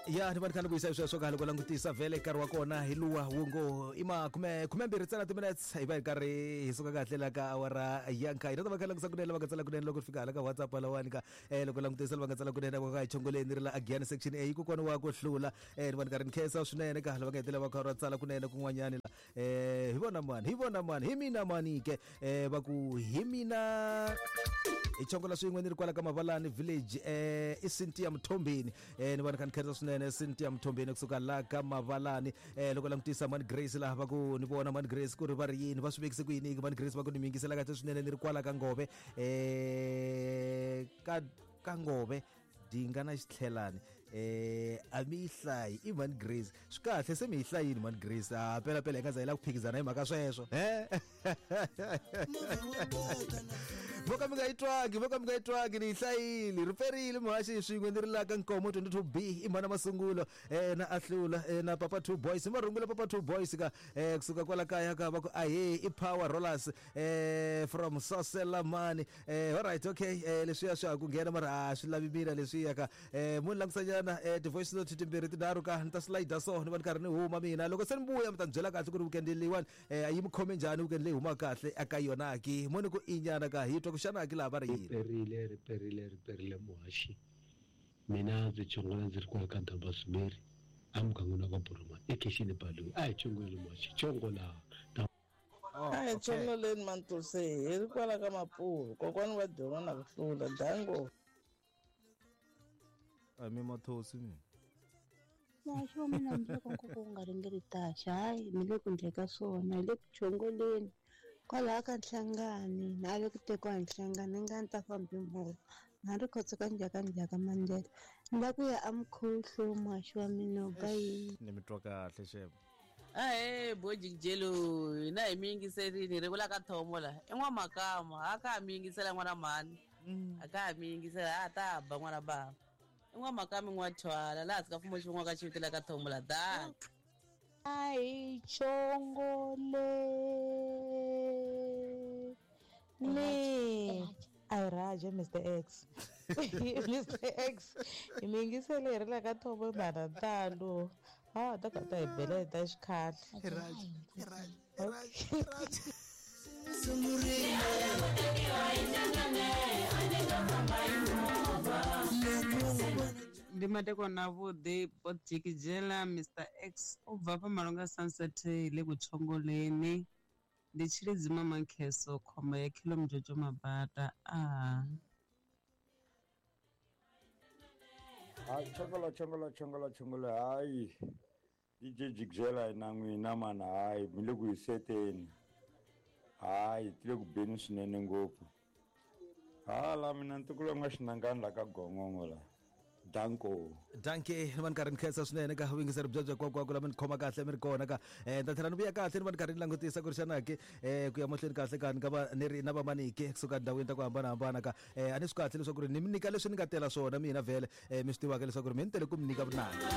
Ya, ni va ni kha ni vuyisa sweswo ka loko langutisa vhele nkarhi wa kona hi luwa wu ngo i ma khume 12 ntsena timinutes, hi va hi karhi hi suka kahle la ka awara ya nkaye. Na ta va kha langutisa kunene lava nga tsala kunene loko fika hala ka WhatsApp lawani ka loko langutisa lava nga tsala kunene va ka hi chongoleni ri la Agiyani section A, kokwana wa ku hlula. Ni va ni karhi ni khensa swinene ka lava nga hetelela va kha va tsala kunene kun'wanyani la. Hi vona mani, hi vona mani, hi mina mani ke, va ku hi mina hi chongola swin'we ni ri kwala ka Mavalani village, i Cynthia Mthombeni. Ni vona kha ni khensa swinene Cynthia Mthombeni kusuka la ka Mavalani. Loko langutisa Mani Grace laha, va ku ni vona Mani Grace ku ri va ri yini, va swi vekise ku yini? Mani Grace va ku ni mi yingisela kahle swinene ni ri kwala ka Ngove, ka Ngove dinga na xitlhelani. A mi yi hlayi i Mani Grace, swi kahle se mi yi hlayini Mani Grace. A pela pela hi nga za hi la ku phikizana hi mhaka sweswo he, vo ka mi nga yi twangi, vo ka mi nga yi twangi, ni yi hlayile ri perile muhaxi swin'we ni ri la ka Nkomo 22 B, i mhana masungulo na ahlula na Papa Two Boys hi marungula Papa Two Boys ka kusuka kwala kaya ka va ku ahe i Power Rollers from Soselamani. Alright, okay, leswiya swa ha ku nghena mara a swi lavi mina leswiya ka munhu langutisanyana ti-voice note timbirhi tinharhu ka ni ta slide so ni va ni karhi ni huma mina. Loko se ni vuya mi ta ni byela kahle ku ri weekend leyiwani a yi mi khome njhani, weekend leyi humaka kahle eka yona ki moni ku inyana ka hi twa ku xana ki laha va ri yini. Riperile, riperile, riperile muhaxi. Mina ndzi chongola ndzi ri kwala ka Dambasumeri emugangeni wa ka Boromani ekhixini Balloon. A hi chongoleni muhaxi, chongola. Oh, A hi okay. chongoleni Mantuse, hi ri kwala ka Mapuru, kokwani wa dyondzo na ku hlula dango. A mi mathosi mi. Muhaxi wa mina, hambiloko nkoka wu nga ringeri taxa, hayi mi le ku ndleka swona, hi le ku chongoleni kwalaha ka Nhlangani, na le ku tekiwa hi Nhlangani, ni nga ni ta famba hi movha na ri khotso ka njhaka njhaka mandlela, ni la ku ya amkhuhlu. Muhaxi wa mina, u ba yini? Ni mi twa kahle xem. Ahee bojikijelo, hina hi mi yingiserini hi ri vula ka thomo la i n'wamakama a ka ha mi yingisela n'wana mhani, a ka ha mi yingisela a ta ba n'wana bava i n'wamakama n'wathwala laha hansi ka fumo xivon'wa ka xiviti la ka thomo la da. A hi chongoleni. A hi Raja, Mr X, Mr X, hi mi yingisele hi ri la ka thomo mhana ntalo a ta ka ta hi bela hi ta xikhale. Okay. Ndi madekwana avhuḓi Bodzhikidzhela Mr X u bva fha Malunga Sunset le kuchongoleni, ndi Tshilidzi Mama Nkheso khomba ya Khilo Mjojo Mabata a. Hayi, chongola chongola chongola chongola, hayi DJ Jigzela na n'wina mana, hayi mi le ku hiseteni, hayi ti le ku beni swinene ngopfu. Hala mina ntukulu nga xinangani la ka Gongongo la. Danko. Danke, ni va ni karhi ni khensa swinene ka vuyingiseri byebyo hinkwako lama ni khoma kahle mi ri kona ka. Ni ta tlhela ni vuya kahle ni va ni karhi ni langutisa ku ri xana ke ku ya mahlweni kahle ka ni nga va ni ri na vamanike kusuka ndhawini ta ku hambanahambana ka. A ni swi kahle leswaku ri ni mi nyika leswi ni nga tela swona mina vhele, mi swi tivaka leswaku ri mi ni tele ku mi nyika vunanga.